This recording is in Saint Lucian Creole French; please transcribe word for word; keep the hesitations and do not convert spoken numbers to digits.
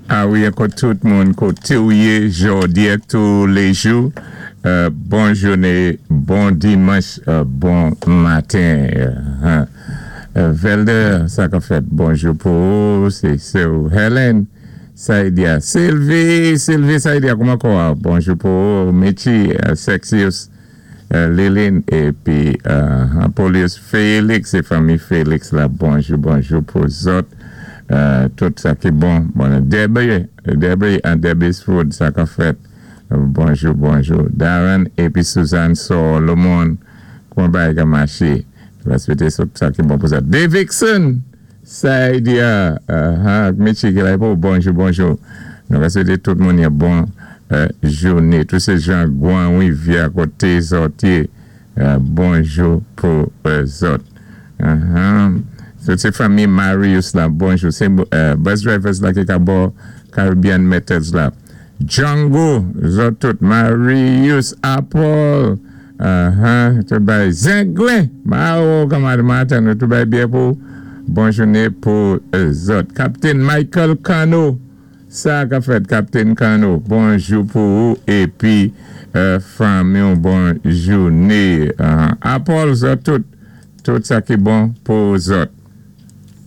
A wi, ankò tout moun koté ou yé jòdi ak tou lé jou. Euh, bon jouné, bon dimanch, euh, bon maten. Euh, euh, Velder, sa ka fèt, bonjou pou ou, sé sè Helen, Saïdia, Sylvie, Sylvie Saïdia, kouman kwa? Bonjou pou ou, Michi, euh, Sexius, euh, Lilin, épi euh, Apolius Félix, sé fanmi Félix la, bonjou, bonjou pou zòt. Euh, tout sa ki bon. Bon, Debbie, Debbie and Debbie's Food, sa ka fèt. Bonjou, bonjou. Darren épi Suzanne Solomon, kouman bagay ka maché? Va swété sa ki bon pou sa. Davidson, Saïdia, uh, Michi ki la pou, bonjou, bonjou. Nou va swété tout moun yon bon euh, jouné. Tout sé jan Gwan Wivya koté zòt yé, euh, bonjou pou euh, zòt. Uh-huh. Tout sé fanmi Marius la, bonjou. Sé euh, bus drivers la ki ka bò Caribbean Metals la. Django, zòt tout. Marius, Apple, uh-huh, tout bay Zenglen, Mao, kaman maten, nou tout bay byen pou bon jouné pou euh, zòt. Captain Michael Cano, sa ka fèt Captain Cano, bonjou pou ou, épi euh, fanmi bon jouné. Uh, Apple, zòt tout, tout sa ki bon pou zòt.